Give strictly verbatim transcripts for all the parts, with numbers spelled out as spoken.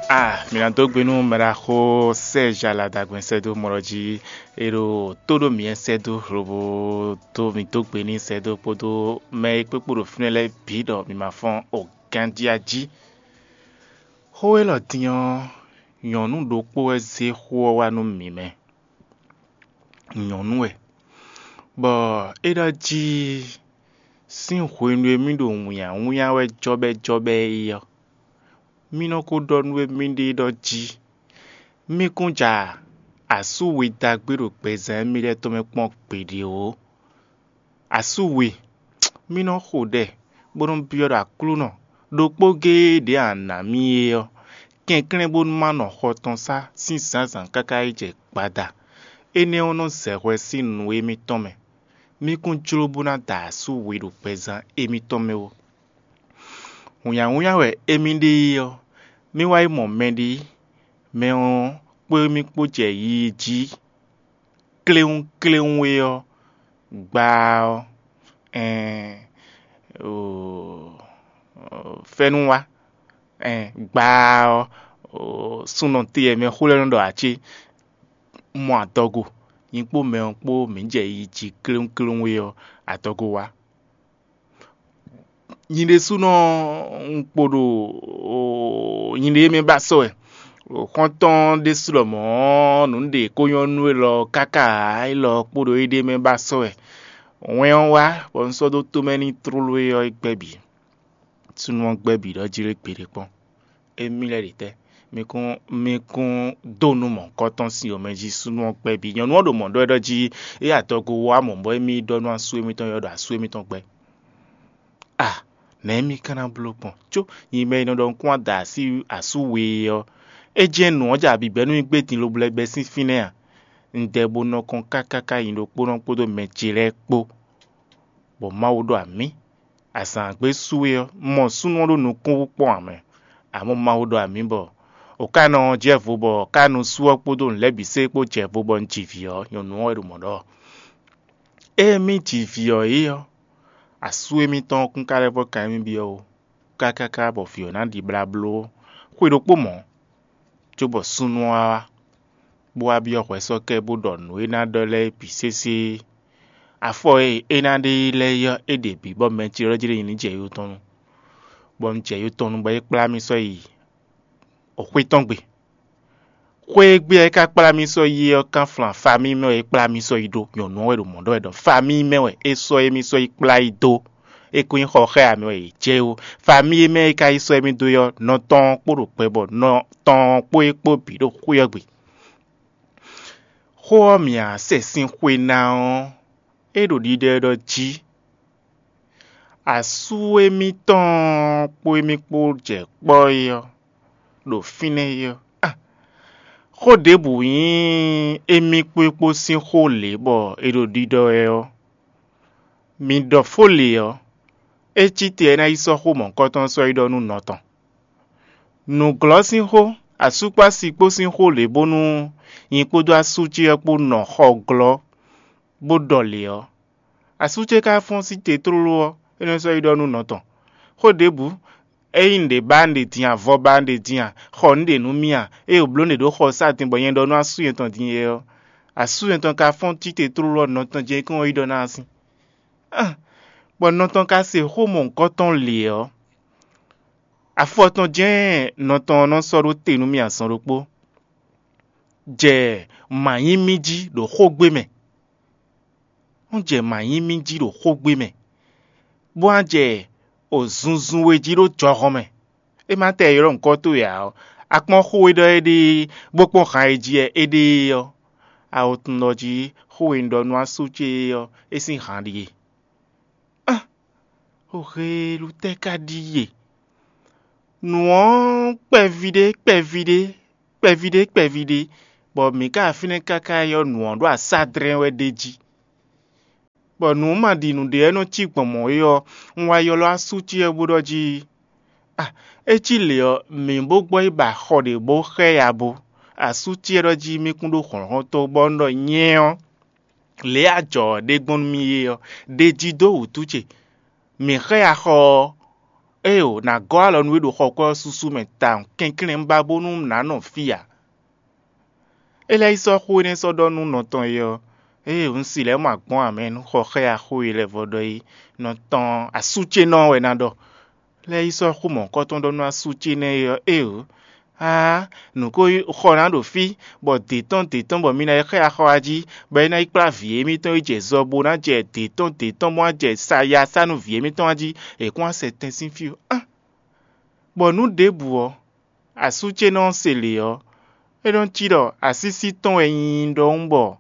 A mǐ ná dó gbe nú mɛɖaxó Sɛ́ɛzhi Aladagbɛn sɛ́dó mɔ ɖɔ jí é ɖo tó ɖó mǐ wɛ sɛ́dó lobo dó mǐ dó gbe n'i sɛ́dó kpódó mɛ e kpékpó ɖo fínɛ́ lɛ́ɛ bǐ ɖɔ mǐ ma fɔ́n o ganjí a jí. Xó élɔ́ din ɔ́, nyɔ̌nu ɖokpó wɛ zé xó ɔ́ wá nú mǐ mɛ. Nyɔ̌nu wɛ, bɔ é ɖɔ jí sín hwenu e mì ɖo wǐnnyáwínnyá wɛ jɔ́bɛ́jɔ́bɛ́ é ɔ́, mì nɔ ko ɖɔ nú émíɖée ɖɔ jí mì kún ja asú we dagbe ɖo gbɛzán émí lɛ́ɛ tɔn mɛ kpɔ́n gbeɖé ó. Asú we, mì nɔ xo ɖɛ bó nɔ́ byɔ́ ɖɔ Aklúnɔ, ɖokpó géé ɖě a nǎ mì é ɔ́, kɛnklɛ́n bónú má nɔ xɔ tɔn sá sín zǎnzǎn káká yi jɛ gbada. Énɛ́ ɔ́ nɔ zɛ hwɛ sín nǔ émítɔn mɛ. Mì kún jló bó ná da asú we ɖo gbɛzán émítɔn mɛ ó. Wǐnnyáwínnyá wɛ émí ɖe é ɔ́, mì wá yi mɔ mɛɖé, mɛ ɔ́ kpó émí kpó jɛ yiyi jí kléwúnkléwún é ɔ́, gbá ɔ́, ɛɛn, fɛ́nú wá, ɛɛn, gbá ɔ́, súnɔ te e mɛ xó lɛ́ɛ nɔ ɖɔ ǎ cé? Mɔ adɔgo, nyi kpó mɛ ɔ́ kpó mǐ jɛ yi jí kléwúnkléwún é ɔ́, adɔgo wá. Nyi ɖésúnɔ un kpo ɖo nyiɖée mɛ ba sɔ́ wɛ. Xɔ́ntɔn ɖésú lɔmɔ̌ nǔ ɖě kó nyɔ́ nú élɔ́ káká élɔ́ kpo ɖo éɖée mɛ ba sɔ́ wɛ. Wɛn ɔ́ wá, bɔ un sɔ́ dó tomɛ n'i tlóló é ɔ́, é gbɛ́ bǐ. Súnnu ɔ́ gbɛ́ bǐ ɖɔ jí lé gbeɖé kpɔ́n. Émí lɛ́ɛ ɖe tɛ́? Mi kún mi kún dó nú mɔ̌hunkɔtɔn sin omɛ jí súnnu ɔ́ gbɛ́ bǐ. Nyɔ̌nu ɔ́ ɖo mɔ̌ ɖɔ wɛ ɖɔ jí é adɔgo wá mɔ̌ bɔ émí ɖɔ nú asú émítɔn ɔ́ ɖɔ asú émítɔn gbɛ́. A nɛ̌ mi ka ná bló gbɔn? Có nyi mɛ e nɔ ɖɔ un kún wá da así asú we é ɔ́, é jɛ́n nǔ ɔ́ jɛ abǐbɛ́ nú mì gbé din lobo lɛ́ bɛ́ sín fínɛ́ a? Un dɛ bo nɔ kɔn káká ká nyi ɖokpónɔ kpódó mɛ ce lɛ́ɛ kpó, bɔ Mawu ɖɔ amǐ. Azǎn gbe su é ɔ́, un mɔ súnnu ɔ́ ɖo nukúnwú kpɔ́n ǎ mɛ. Amɔ̌ Mawu ɖɔ amǐ bɔ o ka nɔ jɛ vo bɔ ka nu sú ɔ́ kpódó nǔ lɛ́ɛ bǐ sé kpó jɛ vo bɔ un ji vǐ ɔ́, nyɔ̌nu ɔ́ wɛ ɖo mɔ̌ ɖɔ. Ée mì ji vǐ ɔ́ é ɔ́, asú émítɔn ɔ́ kún ka lɛ́ vɔ́ kan émí byɔ́ ó, kákáká bɔ vǐ ɔ́ ná ɖi blá bló xwe ɖokpó mɔ̌, cóbɔ súnnu ɔ́ wá wá, bó wá byɔ́ hwɛsɔ́kɛ bó ɖɔ nǔ e ná ɖɔ lɛ́ɛ bǐ sésé. Afɔ e é ná ɖe lɛ́ɛ ɔ́, é ɖe bǐ bɔ mɛ ce lɛ́ɛ jlé nyi ní jɛ yo tɔn nu, bɔ un jɛ yo tɔn nu bɔ é kplá mì sɔ́ yi xwé tɔn gbe. Xwé e gbe ɔ́ é ka kplá mì sɔ́ yi é ɔ́, kánflán famíi mɛ wɛ é kplá mì sɔ́ yi ɖó. Nyɔ̌nu ɔ́ wɛ ɖo mɔ̌ ɖɔ wɛ ɖɔ famíi mɛ wɛ é sɔ́ émí sɔ́ yi kplá yi dó. É ko nyí xɔ xá ǎ mɛ wɛ yě jɛ é ó. Famíi e mɛ é ka yi sɔ́ émí dó é ɔ́, nɔ tɔn ɔ́ kpo ɖo kpɛ bɔ nɔ tɔn ɔ́ kpó é kpó bǐ ɖo xwé ɔ́ gbe. Xó ɔ́ mǐ a sɛ sín xwe ná ɔ́, é ɖo ɖiɖɔ ɖɔ jí. Asú émítɔn kpó émí kpó jɛ kpɔ́ é ɔ́, ɖo fínɛ́ é ɔ́, a xó ɖěbǔ nyí émí kpó é kpó sín xó lě bɔ è ɖo ɖiɖɔ wɛ ɔ́, mi ɖɔ fó lě ɔ́, é cí te ɔ́, é ná yi sɔ́ xó mɔ̌hunkɔtɔn sɔ́ yi ɖɔ nú nɔ tɔn. Nǔglɔ́ sín xó, asú kpó asi kpó sín xó lě bónú nyi kpódó asú ce ɔ́ kpó nɔ xɔ glɔ́ bó ɖɔ lě ɔ́, asú ce ka fɔ́n sí te tlóló ɔ́, é nɔ sɔ́ yi ɖɔ nú nɔ tɔn. Xó ɖěbǔ, ényí nǔɖé ba nǔɖé din a, vɔ ba nǔɖé din a, xɔ nǔɖé nú mì a, ée wǒ bló nǔɖé ɖó xɔ sá din bɔ nyɛ ɖɔ nú asú nyɛtɔn din é ɔ́, asú nyɛtɔn ka fɔ́n sí te tlóló ɔ́, nɔ tɔn jɛ́n é kɔn yi ɖɔ ná así. Bɔ nɔ tɔn ka se xó mɔ̌hunkɔtɔn lě ɔ́, afɔ tɔn jɛ́n nɔ tɔn ɔ́ nɔ sɔ́ ɖó te nú mì azɔn ɖokpó. Jɛ mǎ nyí mì jí ɖo xógbé mɛ. Wọ́n jɛ mǎ nyí mì jí ɖo xógbé mɛ, bó wá jɛ o zunzun we jí ɖó jɔhɔn mɛ. É má tɛ ylɔ́ nyǐkɔ towe ǎ ɔ́, a kpɔ́n xó e ɖɔ éɖée, bó kpɔ́n han e jí wɛ é ɖe é ɔ́, a wo tunwun ɖɔ jí xó e un ɖɔ nú asú ce é ɔ́, é sín han ɖíe. Á, xó heelú tɛ́ ka ɖíe? Nǔ ɔ́ kpɛví ɖé, kpɛví ɖé, kpɛví ɖé, kpɛví ɖé, bɔ mǐ ka fínɛ́ káká ylɔ́ nǔ ɔ́ ɖo asádrɛ́n wɛ ɖ'é jí. Bɔ nǔ ma ɖi nǔɖé wɛ nɔ cí gbɔn mɔ̌ é ɔ́, un wá ylɔ́ asú ce ɔ́ bó ɖɔ jí, a, é cí lě ɔ́, mǐ bó gbɔ yi ba xɔ ɖě bó xɛ ya bo. Asú ce ɔ́ ɖɔ jí mì kún ɖó hlɔ̌nhlɔ́n tó bɔ un ɖɔ nyɛ ɔ́, lě e a jɔ ɔ́ ɖe gbɔn nú mì é ɔ́, ɖe jí dó wǔtu ce. Mǐ xɛ ya xɔ ɔ́, Éeǒ, nǎ gɔ́ alɔ nú we ɖo xɔ kwɛ́ ɔ́ súsú mɛ tawun kɛnklɛ́n bá bónú nǎ nɔ fí ǎ. É lɛ́ yi sɔ́ xó énɛ́ sɔ́ ɖɔ nú nɔ tɔn e ɔ́, ée un si lɛ́ mɔ agbɔ́n ǎ mɛ nú xɔ xá ya xó e lɛ́ vɔ ɖɔ é, nɔ tɔn asú ce nɔ wɛ ná ɖɔ. Lɛ́ yi sɔ́ xó mɔ̌hunkɔtɔn ɖɔ nú asú ce nɛ́ é ɔ́, éeǒ, aa, nǔ ko xɔ ná ɖo fí, bɔ dě tɔn dě tɔn bɔ mi ná yi xá ya xɔ wá jí, bɔ é ná yi kplá vǐ émítɔn yi jɛ zɔ bó ná jɛ dě tɔn dě tɔn bó ná jɛ saya sá nú vǐ émítɔn wá jí, è kún wá sɛ tɛn sín fí ó. Bɔ nǔ ɖěbǔ ɔ́, asú ce nɔ se lě ɔ́, é nɔ cí ɖɔ asísí tɔn wɛ nyí ɖɔhun bɔ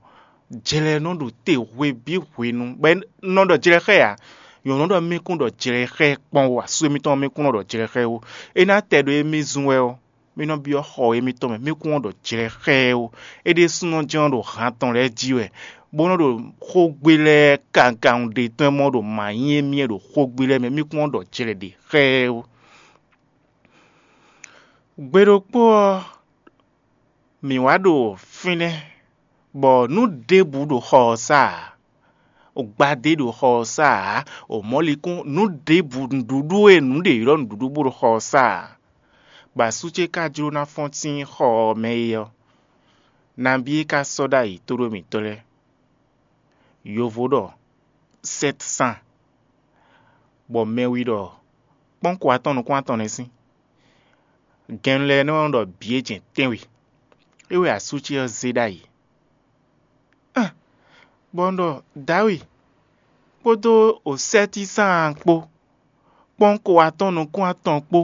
jlɛ nɔ ɖo te hwe bǐ hwenu, bɔ é nɔ ɖɔ jlɛ xá ɛ ǎ. Nyɔ̌nu ɖɔ mì kún ɖɔ jlɛ xá ɛ kpɔ́n ó, asú émítɔn ɔ́ mì kún nɔ ɖɔ jlɛ xá ɛ ó. É ná tɛ ɖo émí zun wɛ ɔ́, mì nɔ byɔ́ xɔ émítɔn mɛ, mì kún nɔ ɖɔ jlɛ xá ɛ ó. É ɖésúnɔ jɛ́n nɔ ɖo han tɔn lɛ́ɛ jí wɛ, bó nɔ ɖo xógbé lɛ́ɛ kawun ɖe tɔn e mɔ ɖo mǎ nyí émí wɛ ɖo xógbé lɛ́ɛ mɛ, mì kún nɔ ɖɔ jlɛ ɖě xá ɛ ó. Gbe ɖokpó ɔ́, mǐ wá ɖo fínɛ́, bɔ nǔ ɖěbǔ ɖo xɔ ɔ́ sá ǎ. Gbadé ɖo xɔ ɔ́ sá ǎ, mɔ̌likún nǔ ɖěbǔ nǔɖuɖu e nǔ ɖě ylɔ́ nǔɖuɖu bó ɖo xɔ ɔ́ sá ǎ. Bɔ asú ce ka jló ná fɔ́n sín xɔ ɔ́ mɛ é ɔ́, nabí é ka sɔ́ ɖ'ayǐ tóɖó mǐtɔn lɛ́ɛ? Yovo ɖɔ sɛ́t san, bɔ mɛwi ɖɔ kpɔ́nko atɔn nukún atɔn nɛ́ sín. Gɛnnu lɛ́ɛ nɔ ɖɔ bǐ e jɛn tɛ́nwe. É wɛ asú ce ɔ́ zé ɖ'ayǐ. Bɔ un ɖɔ Dǎwe kpódó osɛ́tísán kpó, kpɔ́nko atɔn nukún atɔn kpó,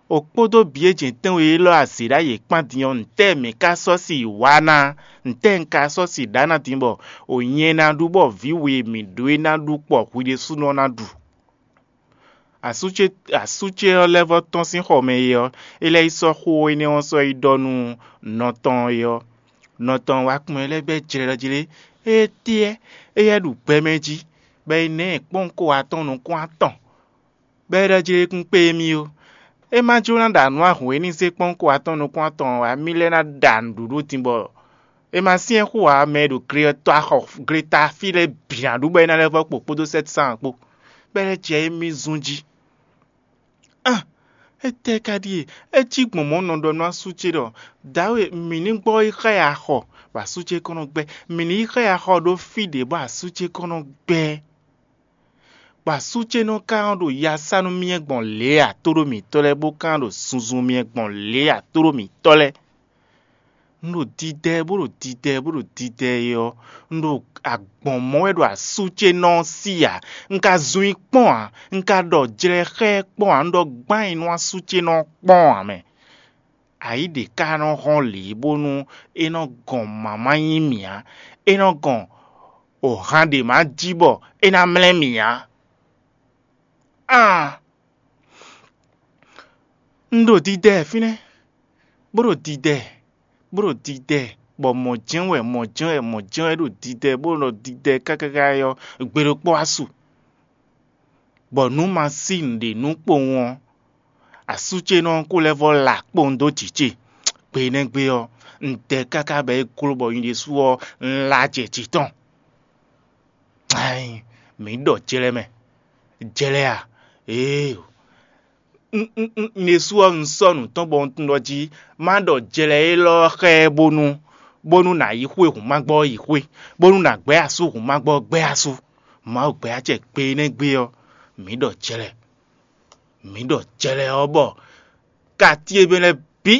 o kpódó bǐ e jɛn tɛ́nwe élɔ́ azě ɖ'ayǐ kpán din ɔ́, ntɛ́ɛ mǐ ka sɔ́ si wá ná? Ntɛ́ɛ un ka sɔ́ si ɖǎ ná din bɔ o nyɛ ná ɖu bɔ vǐ we e mǐ ɖó é ná ɖu kpɔ hwi ɖésúnɔ ná ɖu? Asú ce asú ce ɔ́ lɛ́ vɔ́ tɔ́n sín xɔ mɛ é ɔ́, é lɛ́ yi sɔ́ xó énɛ́ ɔ́ sɔ́ yi ɖɔ nú nɔ tɔn é ɔ́. Nɔ tɔn wá kpɔ́n ɛ lɛ́ɛ bɛ́ jlɛ́ɖɔ́ jlé. Étɛ́ éyɛ́ ɖu gbɛ mɛ jí, bɔ é ná ɛ kpɔ́n ko atɔn nukún atɔn, bɔ é ɖɔ jlé kún kpé émí ó. É má jló ná ɖa nǔ ahǔn e ní zé kpɔ́n ko atɔn nukún atɔn ǎ, mì lɛ́ ná ɖa nǔɖuɖu din bɔ é ma syɛ́n xú ǎ, mɛ e ɖo gle ɔ́ tɔ́ axɔ gleta fí lɛ́ɛ bǐ ná ɖu bɔ é ná lɛ́ vɔ́ kpo kpódó sɛ́tisán kpó, bɔ é lɛ́ jɛ émí zún jí. Á, étɛ́ ka ɖíe? É cí gbɔn mɔ̌ un nɔ ɖɔ nú asú ce ɖɔ: Dǎwe, mǐ ní gbɔ yi xá ɛ axɔ, bɔ asú ce kɔn nɔ gbɛ́. Mǐ ní yi xá ɛ axɔ ɖó fí ɖě bɔ asú ce kɔn nɔ gbɛ́. Bɔ asú ce nɔ ka nɔ ɖo ya sa nú myɛ gbɔn lě e atóɖó mǐtɔn lɛ́ɛ, bó ka nɔ ɖo zunzun myɛ gbɔn lě e atóɖó mǐtɔn lɛ́ɛ. Un ɖo didɛ bó ɖo didɛ bó ɖo didɛ é ɔ́, un ɖo agbɔ̌n mɔ wɛ ɖo asú ce nɔ ɔ́ sí ǎ. Un ka zun i kpɔ́n ǎ, un ka ɖɔ jlɛ xá ɛ kpɔ́n ǎ, un ɖɔ gbán nyi nú asú ce nɔ ɔ́ kpɔ́n ǎ mɛ. Ayǐ ɖě ka nɔ hɔ́n lě bónú é nɔ gɔn mǎ ma nyí mì ǎ; é nɔ gɔn ohan ɖě ma jí bɔ é ná mlɛ́ mì ǎ. Aan! Un ɖo didɛ fínɛ́, bó ɖo didɛ, bó ɖo didɛ, bɔ mɔ̌ jɛ́n wɛ, mɔ̌ jɛ́n wɛ, mɔ̌ jɛ́n wɛ ɖo didɛ, bó ɖo didɛ káká ɔ́, gbe ɖokpó wá su, bɔ nǔ ma sí nǔɖé nú kpowun ɔ́, asú ce nɔ ko lɛ́ vɔ́ la kpowun dó jǐ ce. Gbe énɛ́ gbe ɔ́, un dɛ káká bɔ é gló bɔ nyi ɖésú ɔ́, un la jɛ jǐ tɔn. Ayi, mǐ ɖɔ jlɛ mɛ. Jlɛ a? Ee, un un un un ɖésú ɔ́, un sɔ́ nǔ tɔn bɔ un tunwun ɖɔ jí má ɖɔ jlɛ élɔ́ ɔ́ xá ɛ bónú bónú nǎ yi xwé hǔn ma gbɔ ɔ́ yi xwé, bónú nǎ gbɛ́ asú hǔn ma gbɔ ɔ́ gbɛ́ asú. Mawu gbɛ́ acɛ gbe énɛ́ gbe ɔ́, mǐ ɖɔ jlɛ. Mǐ ɖɔ jlɛ ɔ́ bɔ kati e mɛ lɛ́ɛ bǐ,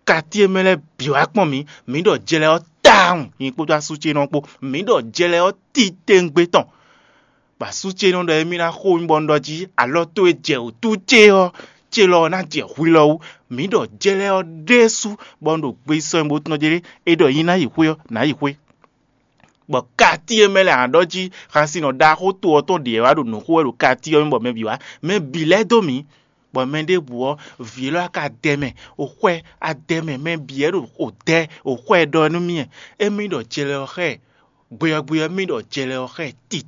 kati e mɛ lɛ́ɛ bǐ wá kpɔ́n mǐ. Mǐ ɖɔ jlɛ ɔ́ tawun, nyɛ kpódó asú ce nɔ kpó. Mǐ ɖɔ jlɛ ɔ́ titewungbe tɔn. Bɔ asú ce nɔ ɖɔ émí ná xo mì bɔ un ɖɔ jí alɔ towe jɛ wǔtu ce ɔ́, ce lɔ ɔ́ ná jɛ hwi lɔ wú. Mǐ ɖɔ jlɛ ɔ́ ɖésú, bɔ un ɖo gbe sɔ́ mì bó tunɔ jlé, é ɖɔ nyi ná yi xwé ɔ́, nǎ yi xwé. Bɔ kati e mɛ lɛ́ɛ a ɖɔ jí xasinɔ ɖaxó to ɔ́ tɔn ɖě wá ɖo nǔ xo wɛ ɖo kati ɔ́ mɛ bɔ mɛ bǐ wá. Mɛ bǐ lɛ́ dó mǐ, bɔ mɛ ɖěbǔ ɔ́, vǐ élɔ́ a ka dɛ mɛ, o xwɛ a dɛ mɛ, mɛ bǐ wɛ ɖo o dɛ, o xwɛ ɖɔ nú mì wɛ. Émí ɖɔ jlɛ ɔ́ xá ɛ, gbe ɔ́ gbe ɔ́, mì ɖɔ jlɛ ɔ́ xá ɛ titewungbe.